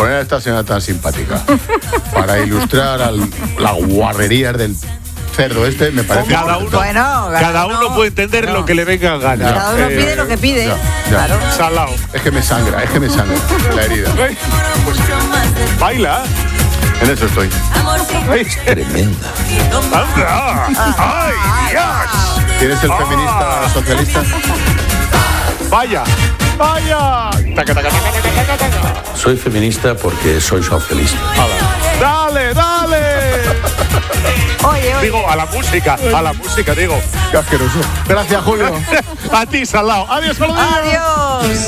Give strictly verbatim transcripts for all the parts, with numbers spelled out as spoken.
poner a esta señora tan simpática para ilustrar al, las guarrerías del cerdo este, me parece... Cada uno, bueno, cada, cada uno, uno puede entender no. lo que le venga a ganar. Cada uno eh, pide lo que pide. Ya, ya. Claro. Salao. Es que me sangra, es que me sangra la herida. Pues, baila. En eso estoy. Ay, tremenda. ¡Ay, Dios! ¿Quién es el feminista ah. socialista? ¡Vaya! ¡Vaya! Soy feminista porque soy socialista. ¡Dale, dale! Oye, oye. Digo, a la música, a la música, digo. Qué asqueroso. Gracias, Julio. A ti, Salao. Adiós, Julio. Adiós.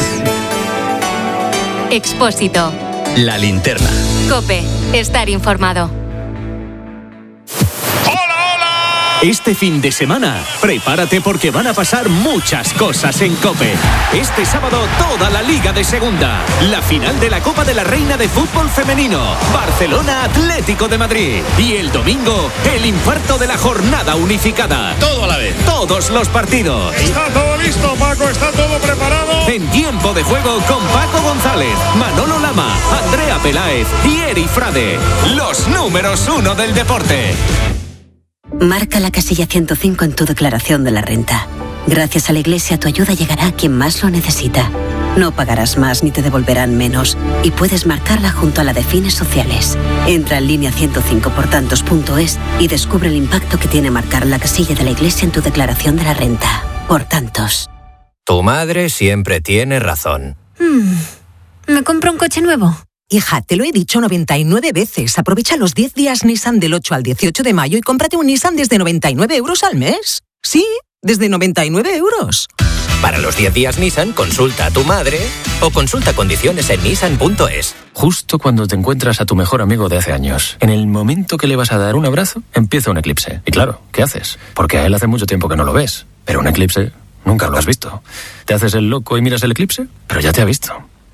Expósito. La linterna. COPE. Estar informado. Este fin de semana, prepárate porque van a pasar muchas cosas en COPE. Este sábado, toda la Liga de Segunda. La final de la Copa de la Reina de Fútbol Femenino. Barcelona Atlético de Madrid. Y el domingo, el infarto de la jornada unificada. Todo a la vez. Todos los partidos. Está todo listo, Paco. Está todo preparado. En tiempo de juego con Paco González, Manolo Lama, Andrea Peláez y Eri Frade. Los números uno del deporte. Marca la casilla ciento cinco en tu declaración de la renta. Gracias a la Iglesia, tu ayuda llegará a quien más lo necesita. No pagarás más ni te devolverán menos. Y puedes marcarla junto a la de fines sociales. Entra en línea ciento cinco por tantos punto es y descubre el impacto que tiene marcar la casilla de la Iglesia en tu declaración de la renta. Por tantos. Tu madre siempre tiene razón. Hmm. ¿Me compro un coche nuevo? Hija, te lo he dicho noventa y nueve veces. Aprovecha los diez días Nissan del ocho al dieciocho de mayo y cómprate un Nissan desde noventa y nueve euros al mes. Sí, desde noventa y nueve euros. Para los diez días Nissan, consulta a tu madre o consulta condiciones en nissan punto es. Justo cuando te encuentras a tu mejor amigo de hace años, en el momento que le vas a dar un abrazo, empieza un eclipse. Y claro, ¿qué haces? Porque a él hace mucho tiempo que no lo ves. Pero un eclipse nunca lo has visto. ¿Te haces el loco y miras el eclipse? Pero ya te ha visto.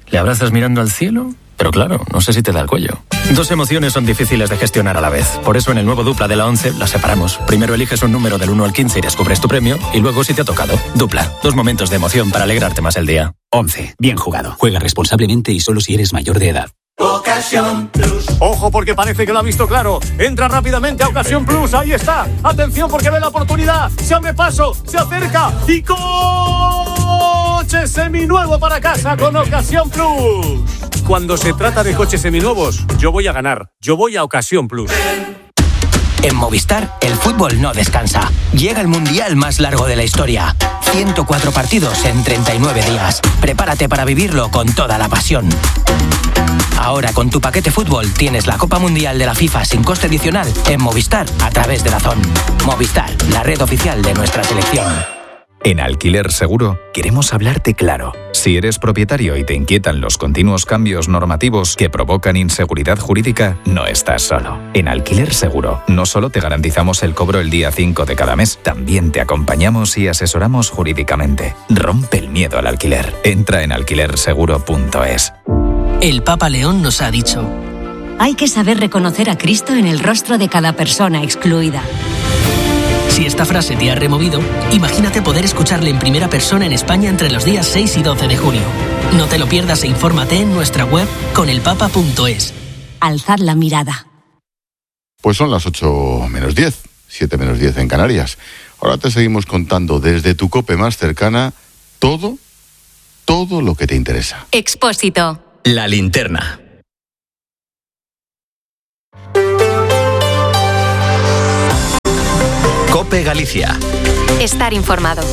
¿Le abrazas mirando al cielo? Pero claro, no sé si te da el cuello. Dos emociones son difíciles de gestionar a la vez. Por eso en el nuevo Dupla de la once las separamos. Primero eliges un número del uno al quince y descubres tu premio. Y luego si te ha tocado. Dupla. Dos momentos de emoción para alegrarte más el día. once. Bien jugado. Juega responsablemente y solo si eres mayor de edad. Ocasión Plus. Ojo porque parece que lo ha visto claro. Entra rápidamente a Ocasión Plus. Ahí está. Atención porque ve la oportunidad. Se abre paso. Se acerca. Y coche seminuevo para casa con Ocasión Plus. Cuando se trata de coches seminuevos, yo voy a ganar. Yo voy a Ocasión Plus. En Movistar, el fútbol no descansa. Llega el mundial más largo de la historia. ciento cuatro partidos en treinta y nueve días. Prepárate para vivirlo con toda la pasión. Ahora con tu paquete fútbol tienes la Copa Mundial de la FIFA sin coste adicional en Movistar a través de DAZN. Movistar, la red oficial de nuestra selección. En Alquiler Seguro queremos hablarte claro. Si eres propietario y te inquietan los continuos cambios normativos que provocan inseguridad jurídica, no estás solo. En Alquiler Seguro no solo te garantizamos el cobro el día cinco de cada mes, también te acompañamos y asesoramos jurídicamente. Rompe el miedo al alquiler. Entra en alquiler seguro punto es. El Papa León nos ha dicho: hay que saber reconocer a Cristo en el rostro de cada persona excluida. Si esta frase te ha removido, imagínate poder escucharle en primera persona en España entre los días seis y doce de junio. No te lo pierdas e infórmate en nuestra web conelpapa punto es. Alzad la mirada. Pues son las ocho menos diez, siete menos diez en Canarias. Ahora te seguimos contando desde tu COPE más cercana todo, todo lo que te interesa. Expósito. La linterna. COPE Galicia. Estar informado.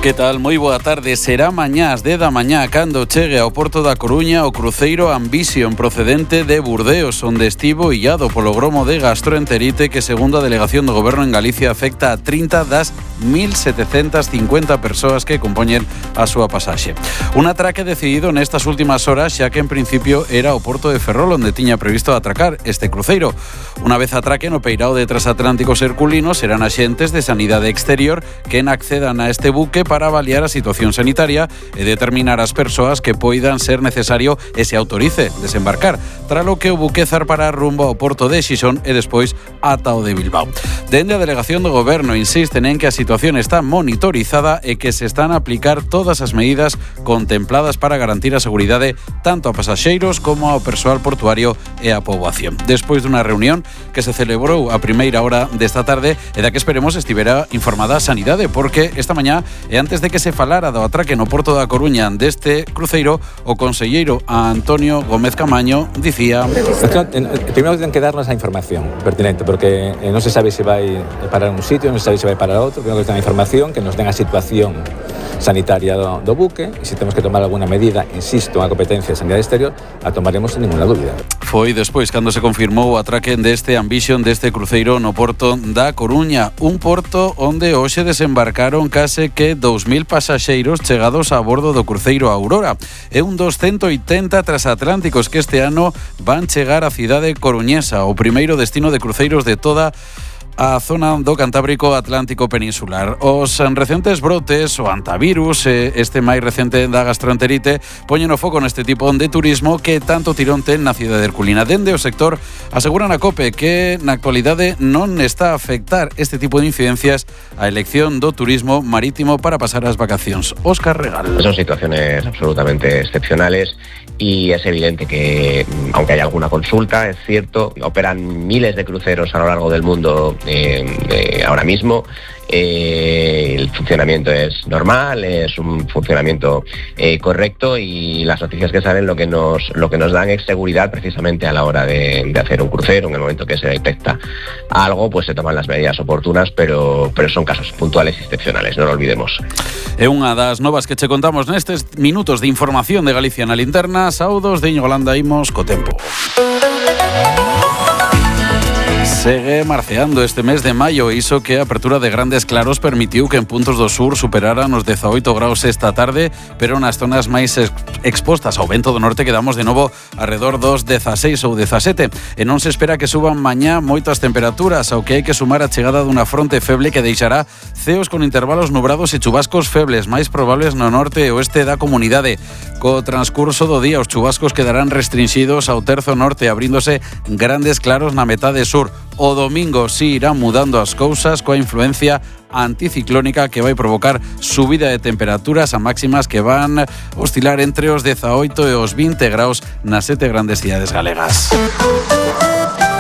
Que tal? Moi boa tarde. Será mañás de da mañá cando chegue ao Porto da Coruña o cruceiro Ambition procedente de Burdeos, onde estivo illado polo gromo de gastroenterite que, segundo a Delegación do Goberno en Galicia, afecta a trinta das mil setecentas cincuenta persoas que compoñen a súa pasaxe. Un atraque decidido nestas últimas horas, xa que en principio era o Porto de Ferrol onde tiña previsto atracar este cruceiro. Unha vez atraque no peirao de Transatlánticos Herculinos, serán axentes de Sanidade Exterior quen accedan a este buque para avaliar a situación sanitaria e determinar as persoas que poidan ser necesario e se autorice desembarcar, tralo que o buque zarpará rumbo ao porto de Xixón e despois ata o de Bilbao. Dende a delegación do Goberno insisten en que a situación está monitorizada e que se están a aplicar todas as medidas contempladas para garantir a seguridade tanto a pasaxeiros como ao persoal portuario e a poboación. Despois dunha reunión que se celebrou a primeira hora desta tarde e da que esperemos estivera informada a Sanidade, porque esta mañá e antes de que se falara do atraque no porto da Coruña deste cruceiro, o conselleiro Antonio Gómez Camaño dicía: Primeiro ten que darnos a información pertinente, porque non se sabe se vai parar un sitio, non se sabe se vai parar outro. Primeiro que ten a información, que nos den a situación sanitaria do, do buque, e se temos que tomar alguna medida, insisto, a competencia de sanidade exterior, a tomaremos sin ninguna dúbida. Foi despois cando se confirmou o atraque deste Ambition deste cruceiro no porto da Coruña, un porto onde hoxe desembarcaron case que dous mil pasaxeiros chegados a bordo do cruceiro Aurora. É un dos ciento oitenta transatlánticos que este ano van chegar á cidade coruñesa, o primeiro destino de cruceiros de toda a zona do Cantábrico Atlántico Peninsular. Os recentes brotes, o antivirus, este máis recente da gastroenterite, poñen o foco neste tipo de turismo que tanto tirón ten na cidade herculina. Dende o sector aseguran a COPE que na actualidade non está a afectar este tipo de incidencias a elección do turismo marítimo para pasar as vacacións. Óscar Regal. Son situaciones absolutamente excepcionales y es evidente que, aunque haya alguna consulta, es cierto, operan miles de cruceros a lo largo del mundo eh, eh, ahora mismo. Eh, el funcionamiento es normal, es un funcionamiento eh, correcto, y las noticias que salen lo que nos lo que nos dan es seguridad precisamente a la hora de, de hacer un crucero. En el momento que se detecta algo, pues se toman las medidas oportunas, pero, pero son casos puntuales y excepcionales, no lo olvidemos. É unha das novas que che contamos nestes minutos de información de Galicia na linterna. Saudos de Íñigo Landa, imos co tempo. Segue marceando este mes de maio, iso que a apertura de grandes claros permitiu que en puntos do sur superaran os dezaoito graus esta tarde, pero nas zonas máis expostas ao vento do norte quedamos de novo arredor dos dezaseis ou dezasete, e non se espera que suban mañá moito as temperaturas, ao que hai que sumar a chegada dunha fronte feble que deixará ceos con intervalos nubrados e chubascos febles, máis probables no norte e oeste da comunidade. Co transcurso do día os chubascos quedarán restringidos ao terzo norte, abríndose grandes claros na metade sur. O domingo si irán mudando as cousas coa influencia anticiclónica que vai provocar subida de temperaturas a máximas que van oscilar entre os dezaoito e os vinte graus nas sete grandes cidades galegas.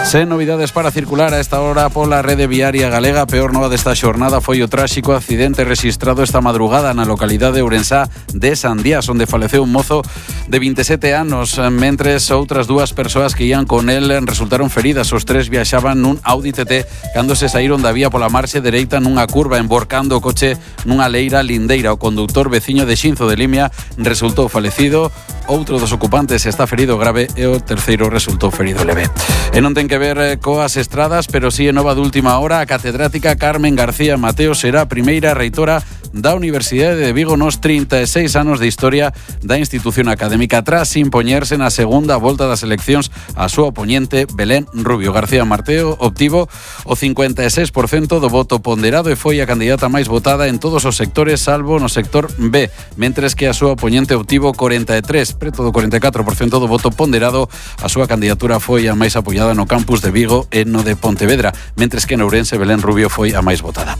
Sen novidades para circular a esta hora pola rede viaria galega. Peor nova desta xornada foi o tráxico accidente rexistrado esta madrugada na localidade ourensá de Sandías, onde faleceu un mozo de vinte e sete anos, mentres outras dúas persoas que ían con el resultaron feridas. Os tres viaxaban nun Audi T T cando se saíron da vía pola marxe dereita nunha curva, emborcando o coche nunha leira lindeira. O conductor veciño de Xinzo de Limia resultou falecido, outro dos ocupantes está ferido grave e o terceiro resultou ferido leve. E non ten que ver coas estradas, pero si é nova de última hora. A catedrática Carmen García Mateo será a primeira reitora da Universidade de Vigo nos trinta e seis anos de historia da institución académica, tras impoñerse na segunda volta das eleccións a súa oponente Belén Rubio. García Mateo obtivo o cincuenta e seis por cento do voto ponderado e foi a candidata máis votada en todos os sectores salvo no sector B, mentres que a súa oponente obtivo cuarenta e tres, preto do cuarenta e catro por cento do voto ponderado. A súa candidatura foi a máis apoiada no campus de Vigo e no de Pontevedra, mentres que en Ourense Belén Rubio foi a máis votada.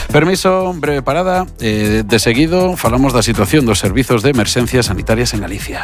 Permiso, breve parada. Eh, de seguido falamos da situación dos servizos de emerxencias sanitarias en Galicia.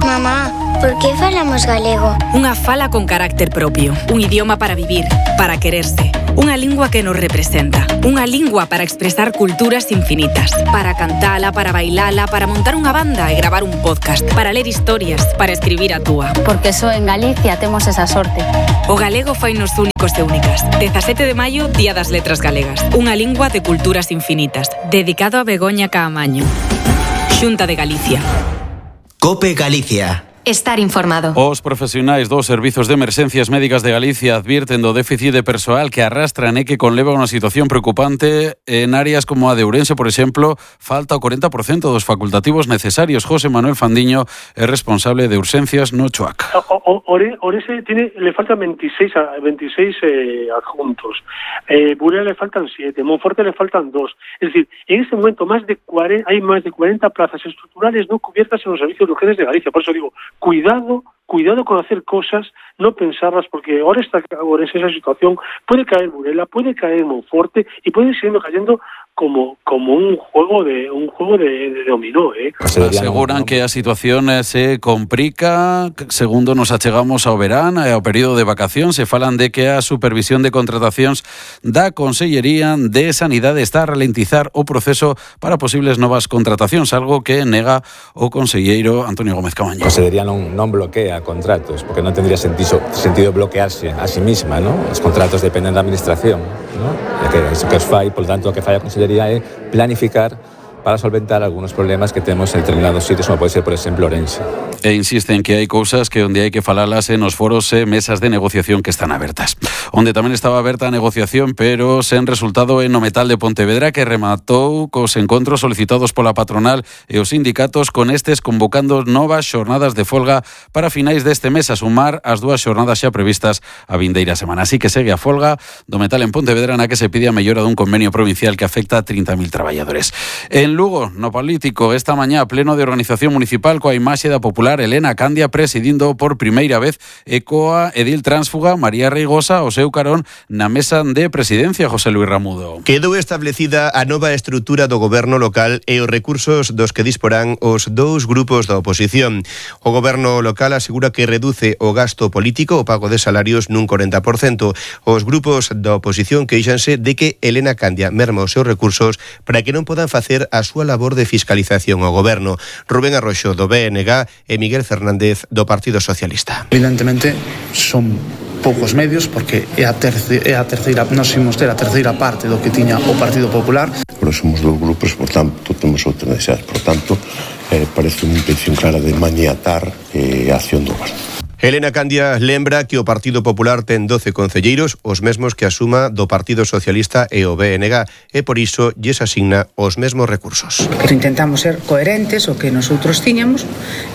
Mamá, por que falamos galego? Unha fala con carácter propio, un idioma para vivir, para quererse, unha lingua que nos representa, unha lingua para expresar culturas infinitas, para cantala, para bailala, para montar unha banda e gravar un podcast, para ler historias, para escribir a túa. Porque só en Galicia temos esa sorte. O galego fainos únicos e únicas. dezasete de maio, Día das Letras Galegas. Unha lingua de culturas infinitas. Dedicado a Begoña Caamaño. Xunta de Galicia. COPE Galicia. estar informado. Os profesionais dos servizos de emerxencias médicas de Galicia advirten do déficit de persoal que arrastran e que conleva unha situación preocupante en áreas como a de Ourense, por exemplo, falta o corenta por cento dos facultativos necesarios. José Manuel Fandiño é responsable de urxencias no Choac. Ourense tiene, le faltan veintiséis, veintiséis eh, adjuntos, eh, Burela le faltan siete, Monforte le faltan dos. Es decir, en este momento más de cuarenta, hay más de cuarenta plazas estructurales no cubiertas en los servicios de urgencias de Galicia. Por eso digo, cuidado, cuidado con hacer cosas, no pensarlas, porque ahora está ahora es esa situación, puede caer Burela, puede caer Monforte y puede seguir cayendo como como un juego de un juego de, de dominó, eh. Aseguran que a situación se complica, segundo nos achegamos ao verán, ao período de vacación, se falan de que a supervisión de contratacións da Consellería de Sanidade está a ralentizar o proceso para posibles novas contratacións, algo que nega o conselleiro Antonio Gómez Camaño. A Consellería non, non bloquea contratos, porque non tendría sentido, sentido bloquearse a sí misma, ¿no? Os contratos dependen da administración, ¿no? E que iso que os fai, por tanto, o que fai a Consellería é planificar para solventar algunos problemas que temos en determinados sitios, como pode ser, por exemplo, Ourense. E insisten que hai cousas que onde hai que falalas en os foros e mesas de negociación que están abertas. Onde tamén estaba aberta a negociación, pero sen resultado en o Metal de Pontevedra, que rematou cos encontros solicitados pola patronal e os sindicatos, con estes convocando novas xornadas de folga para finais deste mes, a sumar as dúas xornadas xa previstas a vindeira semana. Así que segue a folga do Metal en Pontevedra, na que se pide a mellora dun convenio provincial que afecta a trinta mil traballadores. En Lugo, no político, esta mañá pleno de organización municipal coa imaxe da popular Elena Candia presidindo por primeira vez e coa edil tránsfuga María Reigosa o seu carón na mesa de presidencia. José Luis Ramudo. Quedou establecida a nova estrutura do goberno local e os recursos dos que disporán os dous grupos da oposición. O goberno local asegura que reduce o gasto político, o pago de salarios, nun corenta por cento. Os grupos da oposición queixanse de que Elena Candia merma os seus recursos para que non podan facer a súa labor de fiscalización ao goberno. Rubén Arroxo do B N G e Miguel Fernández do Partido Socialista. Evidentemente son poucos medios porque é a terceira, é a terceira, nós imos ter a terceira parte do que tiña o Partido Popular. Pero somos dous grupos, por tanto, temos outras necesidades. Por tanto, eh, parece unha intención clara de maniatar eh, a acción do goberno. Elena Candia lembra que o Partido Popular ten doce concelleiros, os mesmos que a suma do Partido Socialista e o B N G, e por iso lles asigna os mesmos recursos. Pero intentamos ser coherentes o que nosotros tiñamos,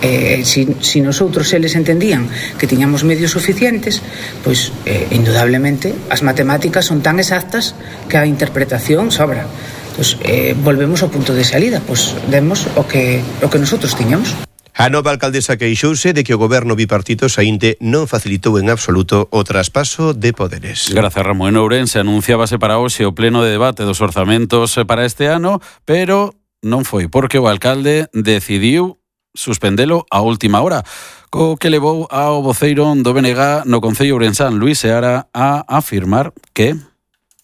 eh, si, si nosotros eles entendían que tiñamos medios suficientes, pois eh, indudablemente as matemáticas son tan exactas que a interpretación sobra. Pois eh, volvemos ao punto de salida, pois demos o que, o que nosotros tiñamos. A nova alcaldesa queixouse de que o goberno bipartito saínte non facilitou en absoluto o traspaso de poderes. Grazas, Ramón. En Ourense anunciábase para hoxe o pleno de debate dos orzamentos para este ano, pero non foi porque o alcalde decidiu suspendelo a última hora, co que levou ao voceiro do B N G no Concello Ourensán, Luís Seara, a afirmar que...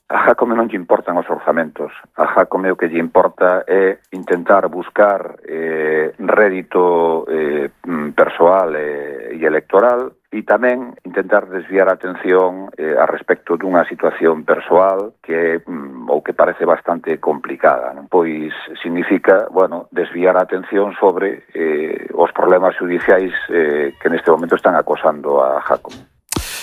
A Jácome non lle importan os orzamentos. A Jácome o que lle importa é intentar buscar eh, rédito eh, persoal e, e electoral e tamén intentar desviar a atención eh, a respecto dunha situación persoal que mm, ou que parece bastante complicada, non? Pois significa, bueno, desviar a atención sobre eh, os problemas judiciais eh, que neste momento están acosando a Jácome.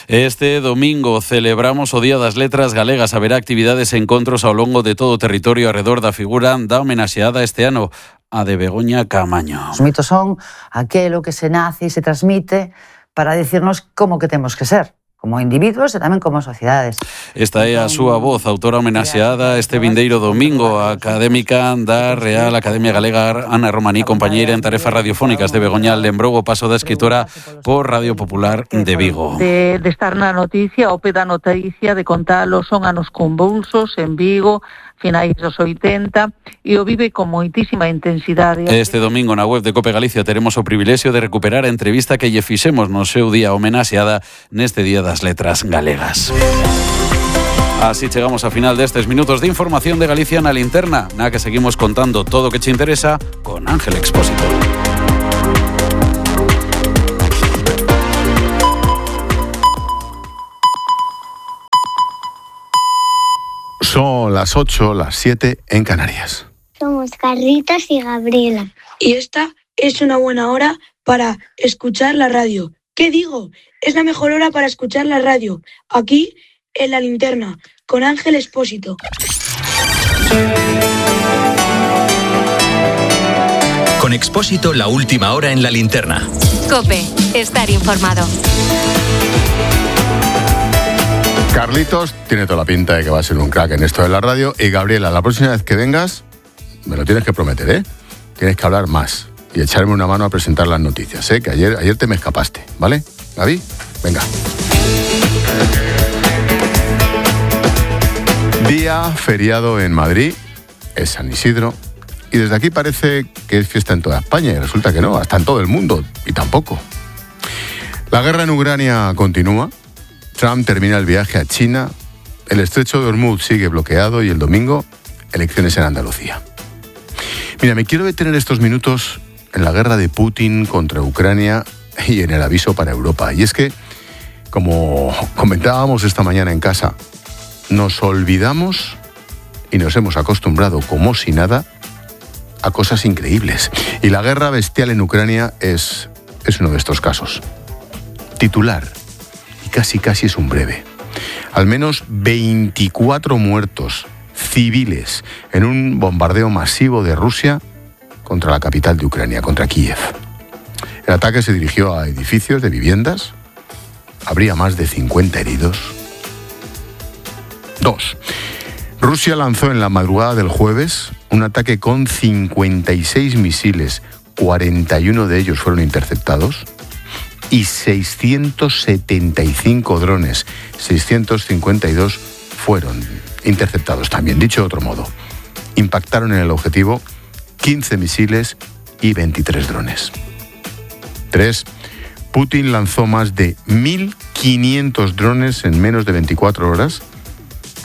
Este domingo celebramos o Día das Letras Galegas. Haberá actividades e encontros ao longo de todo o territorio arredor da figura da homenaxeada este ano, a de Begoña Caamaño. Os mitos son aquelo que se nace e se transmite para decirnos como que temos que ser, como individuos e tamén como sociedades. Esta é a súa voz, autora homenaxeada este vindeiro domingo, a académica da Real Academia Galega Ana Romaní, compañeira en tarefas radiofónicas de Begoña, lembrou o paso da escritora por Radio Popular de Vigo. De, de estar na noticia, o pé da noticia, de contalo, son anos convulsos en Vigo, finais dos oitenta, e o vive con moitísima intensidade. Este domingo na web de Cope Galicia teremos o privilexio de recuperar a entrevista que lle fixemos no seu día homenaxeada neste Día das Letras Galegas. Así chegamos a final destes minutos de información de Galicia na linterna, na que seguimos contando todo o que che interesa con Ángel Expósito. Son las ocho, las siete en Canarias. Somos Carlitos y Gabriela. Y esta es una buena hora para escuchar la radio. ¿Qué digo? Es la mejor hora para escuchar la radio. Aquí, en La Linterna, con Ángel Expósito. Con Expósito, la última hora en La Linterna. COPE, estar informado. Carlitos tiene toda la pinta de que va a ser un crack en esto de la radio. Y Gabriela, la próxima vez que vengas, me lo tienes que prometer, ¿eh? Tienes que hablar más y echarme una mano a presentar las noticias, ¿eh? Que ayer, ayer te me escapaste, ¿vale? Gaby, venga. Día feriado en Madrid, es San Isidro, y desde aquí parece que es fiesta en toda España, y resulta que no, hasta en todo el mundo, y tampoco. La guerra en Ucrania continúa. Trump termina el viaje a China, el estrecho de Hormuz sigue bloqueado y el domingo, elecciones en Andalucía. Mira, me quiero detener estos minutos en la guerra de Putin contra Ucrania y en el aviso para Europa. Y es que, como comentábamos esta mañana en casa, nos olvidamos y nos hemos acostumbrado como si nada a cosas increíbles. Y la guerra bestial en Ucrania es, es uno de estos casos. Titular. Casi, casi es un breve. Al menos veinticuatro muertos civiles en un bombardeo masivo de Rusia contra la capital de Ucrania, contra Kiev. El ataque se dirigió a edificios de viviendas. Habría más de cincuenta heridos. Dos. Rusia lanzó en la madrugada del jueves un ataque con cincuenta y seis misiles. cuarenta y uno de ellos fueron interceptados. Y seiscientos setenta y cinco drones, seiscientos cincuenta y dos fueron interceptados también. Dicho de otro modo, impactaron en el objetivo quince misiles y veintitrés drones. Tres. Putin lanzó más de mil quinientos drones en menos de veinticuatro horas,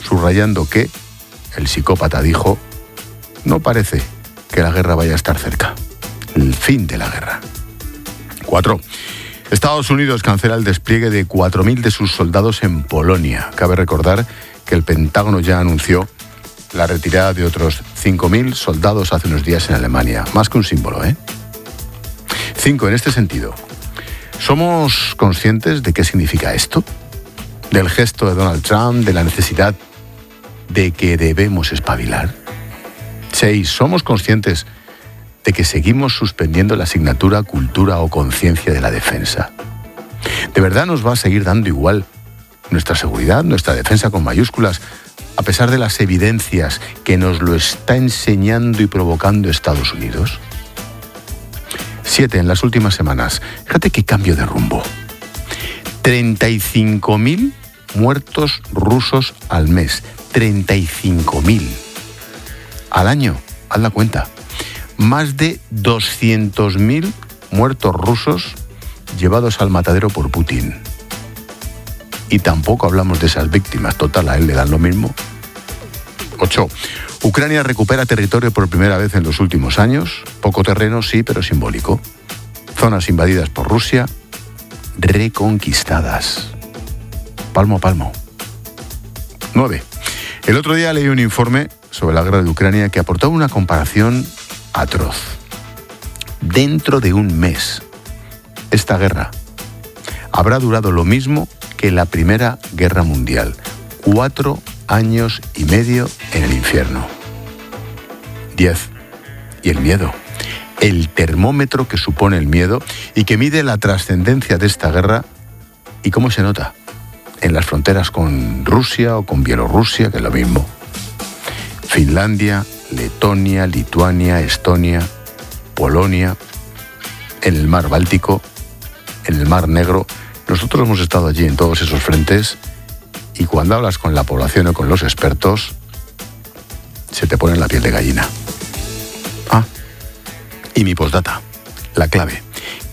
subrayando que el psicópata dijo: no parece que la guerra vaya a estar cerca. El fin de la guerra. Cuatro. Estados Unidos cancela el despliegue de cuatro mil de sus soldados en Polonia. Cabe recordar que el Pentágono ya anunció la retirada de otros cinco mil soldados hace unos días en Alemania. Más que un símbolo, ¿eh? Cinco. En este sentido, ¿somos conscientes de qué significa esto? Del gesto de Donald Trump, de la necesidad de que debemos espabilar. Seis. ¿Somos conscientes de que seguimos suspendiendo la asignatura Cultura o Conciencia de la Defensa? ¿De verdad nos va a seguir dando igual nuestra seguridad, nuestra defensa con mayúsculas, a pesar de las evidencias que nos lo está enseñando y provocando Estados Unidos? Siete. En las últimas semanas, fíjate qué cambio de rumbo. treinta y cinco mil muertos rusos al mes. treinta y cinco mil. Al año, haz la cuenta. Más de doscientos mil muertos rusos llevados al matadero por Putin. Y tampoco hablamos de esas víctimas. Total, a él le dan lo mismo. Ocho. Ucrania recupera territorio por primera vez en los últimos años. Poco terreno, sí, pero simbólico. Zonas invadidas por Rusia, reconquistadas. Palmo a palmo. Nueve. El otro día leí un informe sobre la guerra de Ucrania que aportaba una comparación atroz. Dentro de un mes, esta guerra habrá durado lo mismo que la Primera Guerra Mundial. Cuatro años y medio en el infierno. Diez. Y el miedo. El termómetro que supone el miedo y que mide la trascendencia de esta guerra y cómo se nota en las fronteras con Rusia o con Bielorrusia, que es lo mismo. Finlandia, Letonia, Lituania, Estonia, Polonia, en el mar Báltico, en el mar Negro. Nosotros hemos estado allí en todos esos frentes y cuando hablas con la población o con los expertos, se te pone la piel de gallina. Ah, y mi postdata, la clave,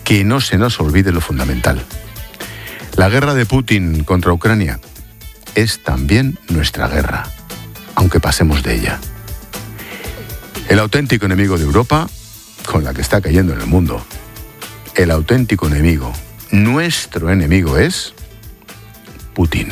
que no se nos olvide lo fundamental. La guerra de Putin contra Ucrania es también nuestra guerra, aunque pasemos de ella. El auténtico enemigo de Europa, con la que está cayendo en el mundo, el auténtico enemigo, nuestro enemigo es Putin.